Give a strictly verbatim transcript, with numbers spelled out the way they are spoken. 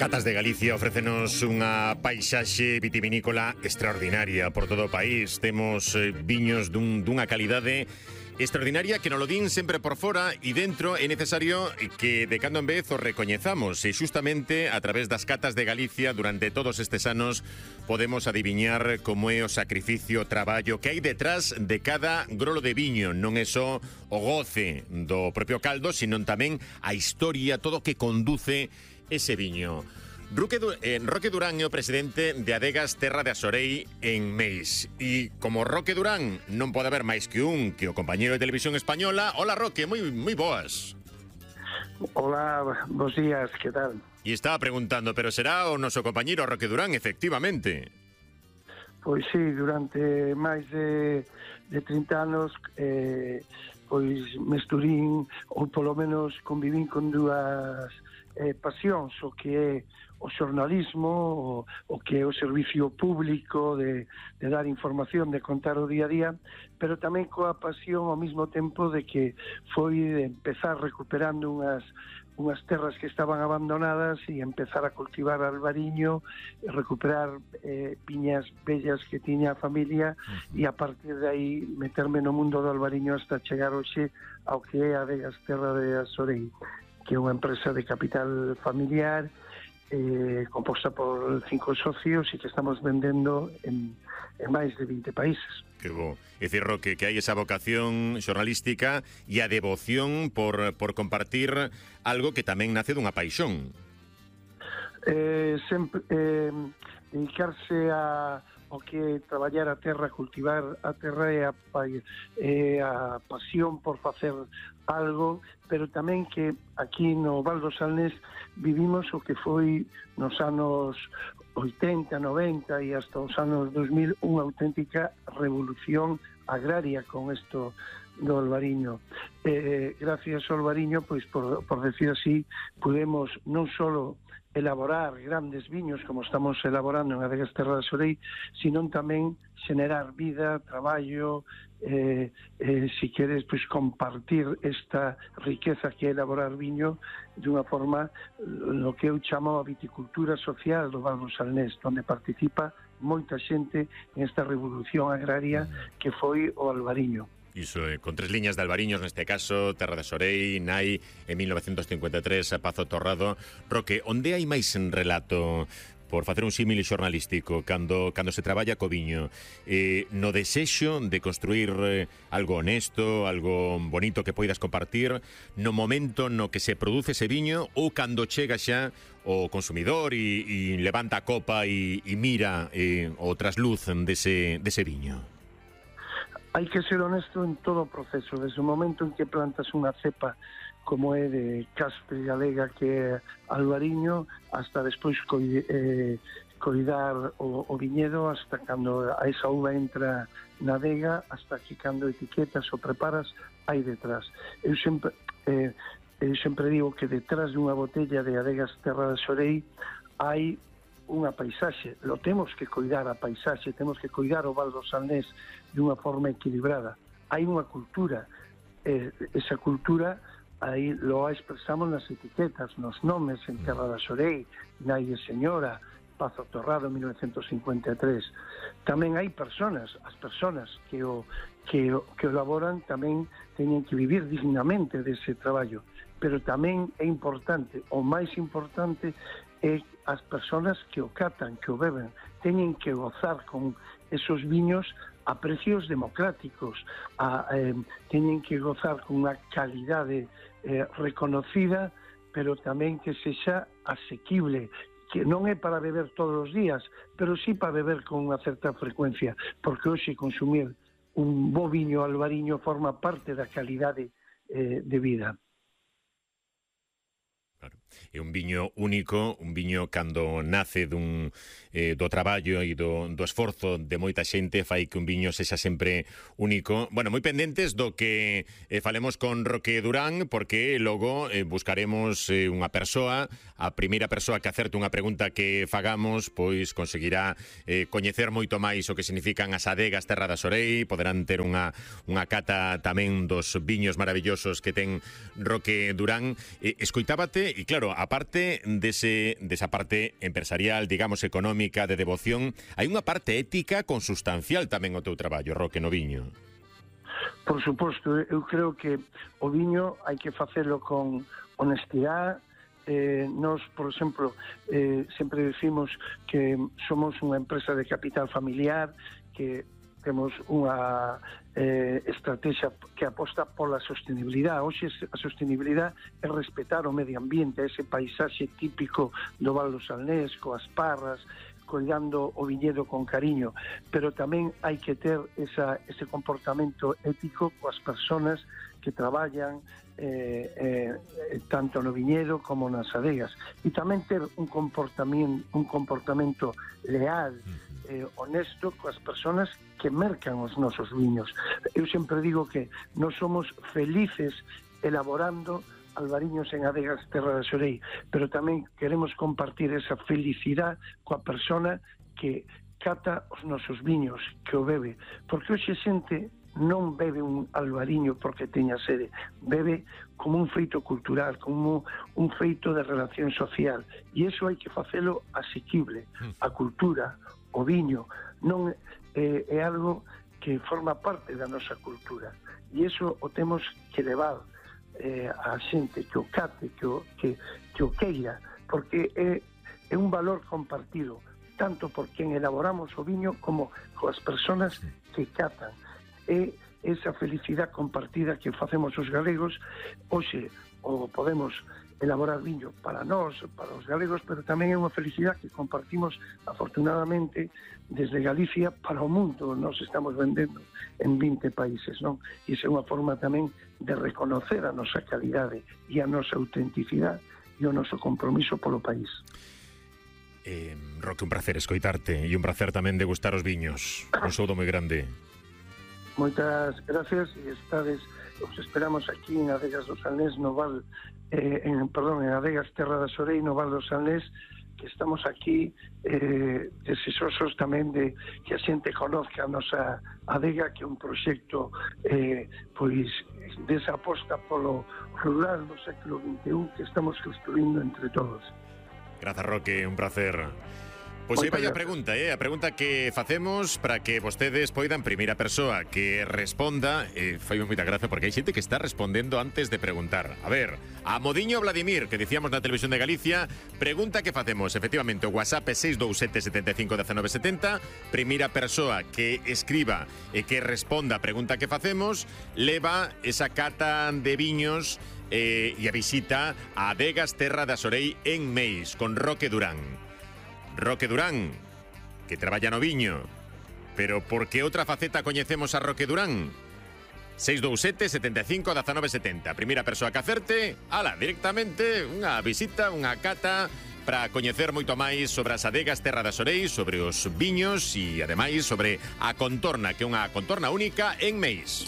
Catas de Galicia ofrécenos unha paisaxe vitivinícola extraordinaria por todo o país. Temos eh, viños dun, dunha calidade extraordinaria que nos lo din sempre por fora e dentro é necesario que de cando en vez o recoñezamos e xustamente a través das Catas de Galicia durante todos estes anos podemos adiviñar como é o sacrificio, o traballo que hai detrás de cada grolo de viño. Non é só o goce do propio caldo, sino tamén a historia, todo o que conduce ese viño. Roque, eh, Roque Durán é o presidente de Adegas Terra de Asorei en Meis. E como Roque Durán non pode haber máis que un que o compañeiro de Televisión Española. Hola, Roque, moi, moi boas. Hola, bons días, que tal? E estaba preguntando, pero será o noso compañeiro Roque Durán, efectivamente? Pois sí, durante máis de, de trinta anos eh, pois mesturín ou polo menos convivín con dúas eh, pasións, o que é o xornalismo, o, o que é o servicio público de, de dar información, de contar o día a día, pero tamén coa pasión ao mesmo tempo de que foi de empezar recuperando unhas unhas terras que estaban abandonadas e empezar a cultivar albariño, recuperar eh, viñas bellas que tiña a familia e a partir de aí meterme no mundo do albariño hasta chegar hoxe ao que é Adegas Terra de Asorei, que é unha empresa de capital familiar eh, composta por cinco socios e que estamos vendendo en, en máis de vinte países. Que bo. É dicir, Roque, que hai esa vocación xornalística e a devoción por, por compartir algo que tamén nace dunha paixón. Eh, sempre, eh, dedicarse a o que traballar a terra, cultivar a terra e a, e a pasión por facer algo, pero tamén que aquí no Val do Salnés vivimos o que foi nos anos oitenta, noventa e hasta os anos dos mil unha auténtica revolución agraria con isto do albariño. Eh, gracias ao albariño, pois por, por decir así, podemos non só elaborar grandes viños como estamos elaborando en Adegas Terra de Asorei, sino tamén xenerar vida, traballo, eh, eh, si queres, pues, compartir esta riqueza que é elaborar viño dunha forma, lo que eu chamo a viticultura social do Val do Salnés, onde participa moita xente en esta revolución agraria que foi o albariño. Iso, eh, con tres liñas de albariños, neste caso, Terra de Asorei, Nai, en mil novecientos cincuenta e tres, Pazo Torrado. Roque, onde hai máis en relato, por facer un símil xornalístico, cando, cando se traballa co viño, eh, no desexo de construir eh, algo honesto, algo bonito que poidas compartir, no momento no que se produce ese viño, ou cando chega xa o consumidor e, e levanta a copa e, e mira eh, o trasluz dese, dese viño? Hai que ser honesto en todo o proceso, desde o momento en que plantas unha cepa como é de Caspe Galega, que é albariño, hasta despois coi, eh, coidar o, o viñedo, hasta cando a esa uva entra na adega, hasta que cando etiquetas ou preparas, hai detrás. Eu sempre, eh, eu sempre digo que detrás dunha botella de Adegas Terra de Asorei hai unha paisaxe, lo temos que coidar a paisaxe, temos que coidar o Val do Salnés de unha forma equilibrada. Hai unha cultura, eh, esa cultura aí lo expresamos nas etiquetas, nos nomes, en Terra de Asorei, Nai de Señora, Pazo Torrado, mil novecientos cincuenta e tres. Tamén hai personas, as personas que o, que o, que o elaboran tamén teñen que vivir dignamente dese traballo, pero tamén é importante, o máis importante é as persoas que o catan, que o beben, teñen que gozar con esos viños a precios democráticos, a, eh, teñen que gozar con unha calidade eh, reconocida, pero tamén que sexa asequible, que non é para beber todos os días, pero sí para beber con unha certa frecuencia, porque hoxe consumir un bo viño albariño forma parte da calidade eh, de vida. Claro. É un viño único, un viño cando nace dun, eh, do traballo e do, do esforzo de moita xente fai que un viño sexa sempre único. Bueno, moi pendentes do que eh, falemos con Roque Durán, porque logo eh, buscaremos eh, unha persoa, a primeira persoa que acerte unha pregunta que fagamos, pois conseguirá eh, coñecer moito máis o que significan as adegas Terra de Asorei, poderán ter unha, unha cata tamén dos viños maravillosos que ten Roque Durán. Eh, escoitábate, e claro, aparte dese, desa parte empresarial, digamos, económica, de devoción, hai unha parte ética consustancial tamén ao teu traballo, Roque, no viño. Por suposto, eu creo que o viño hai que facelo con honestidade. Eh, nos, por exemplo, eh, sempre decimos que somos unha empresa de capital familiar, que temos unha eh, estrategia que aposta pola sostenibilidade. Hoxe a sostenibilidade é respetar o medio ambiente, ese paisaxe típico do Val do Salnés, coas parras, cuidando o viñedo con cariño, pero tamén hai que ter esa, ese comportamento ético coas persoas que traballan eh, eh, tanto no viñedo como nas adegas, e tamén ter un comportamento, un comportamento leal, eh, honesto coas persoas que mercan os nosos viños. Eu sempre digo que non somos felices elaborando albariños en adegas Terra da Xorei, pero tamén queremos compartir esa felicidade coa persona que cata os nosos viños, que o bebe, porque hoxe xente non bebe un albariño porque teña sede, bebe como un feito cultural, como un feito de relación social, e iso hai que facelo asequible. A cultura, o viño, non eh, é algo que forma parte da nosa cultura, e iso o temos que levar eh, a xente que o cate, que o, que, que o queira, porque é, é un valor compartido, tanto por quen elaboramos o viño como coas persoas que catan. É esa felicidade compartida que facemos os galegos. Hoxe o podemos elaborar viño para nós, para os galegos, pero tamén é unha felicidade que compartimos afortunadamente desde Galicia para o mundo. Nos estamos vendendo en vinte países, non? E iso é unha forma tamén de reconocer a nosa calidade e a nosa autenticidade e o noso compromiso polo país. Eh, Roque, un placer escoitarte e un placer tamén degustar os viños. Un saúdo moi grande. Moitas gracias e estades, os esperamos aquí en Adegas do Salnés, no Val, eh, en, perdón, en Adegas Terra da Xorei, no Val do Salnés, que estamos aquí eh, deseosos tamén de que a xente conozca a nosa adega, que é un proxecto eh, pois desa aposta polo rural no século vinte e un que estamos construindo entre todos. Grazas, Roque, un placer. Pois aí vai a pregunta, eh? A pregunta que facemos para que vostedes poidan, primeira persoa que responda, eh, fai moita gracia porque hai xente que está respondendo antes de preguntar. A ver, a Modiño Vladimir, que dicíamos na Televisión de Galicia, pregunta que facemos, efectivamente, o WhatsApp é seis dous sete, sete cinco, uno nove sete zero, primeira persoa que escriba e que responda a pregunta que facemos, leva esa cata de viños eh, e a visita a Adegas Terra da Xorei en Meis, con Roque Durán. Roque Durán, que traballa no viño, pero por que outra faceta coñecemos a Roque Durán? seis dous sete, sete cinco, uno nove sete zero. Primeira persoa que acerte, ala, directamente unha visita, unha cata para coñecer moito máis sobre as adegas Terra da Xorei, sobre os viños e, ademais, sobre a contorna, que é unha contorna única en Meis.